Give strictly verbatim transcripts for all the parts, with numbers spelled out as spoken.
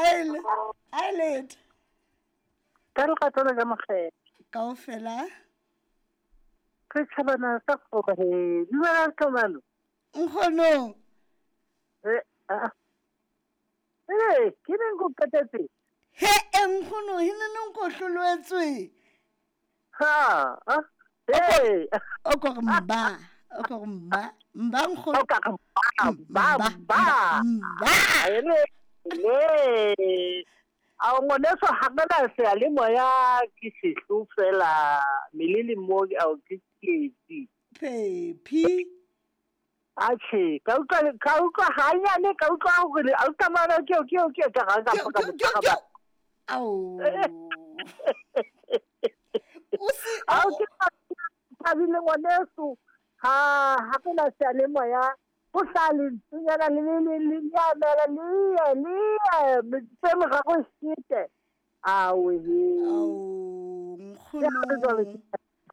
Aele, aele. Ka lerato le ka mokgetho. Kaofela. Setjhabana sa kgore. Dumela Tlomano. Nkgono. Eh, ah. Eh, ke neng ko qetetse? He, e nkgono, he ne neng ko hloloetswe. Ha, ah. Hey. O ko re mba, o ko re mba, mba nkgono. O ka re mba, mba, mba. Mba. Le, le. A ngwaneso ha ke na seyalemoya ke sehlo fela melele mo ao ke tsietsi. Phephi. Atjhe, ka utlwa ka utlwa hanyane ka utlwa hore a utlwa mana ke ke ke ka ga ka ka ka. Ao. O se Ao ke thabile ngwaneso. Ha ha ke na seyalemoya go sa lentsunyana le le le le nyamela le le tse morago sete. Awe he. Ao nkgono.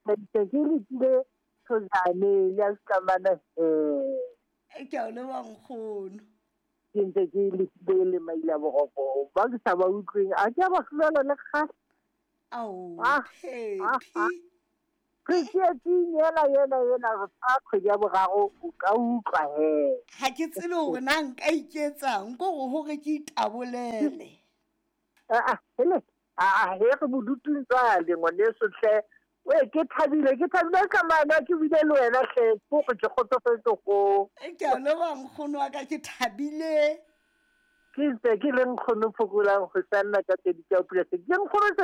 Ke ke letile thojane ya Skamana he. Ke a o leboha nkgono. Ke ntse ke letile le maila boroko ba ke sa ba utlweng a ke a ba hlolela le kgale. Ao Ah, Phephi. Re tsietsing ena ena ena re fa kgwedi ya boraro o ka utlwa he. Ha ke tsebe hore na nka iketsang ko hore hore ke itabolele. Ah ah, hele. Ah ah, he re bodutung jwale ngwaneso hle. We ke thabile ke thabile ka mana ke bile le wena hle ko ke kgotsofetse go. Ke a o leboha nkgono wa ka ke thabile. Ke ntse ke le nkgono phokolang go sanna ka tse di tsa pula se. Ke nkgono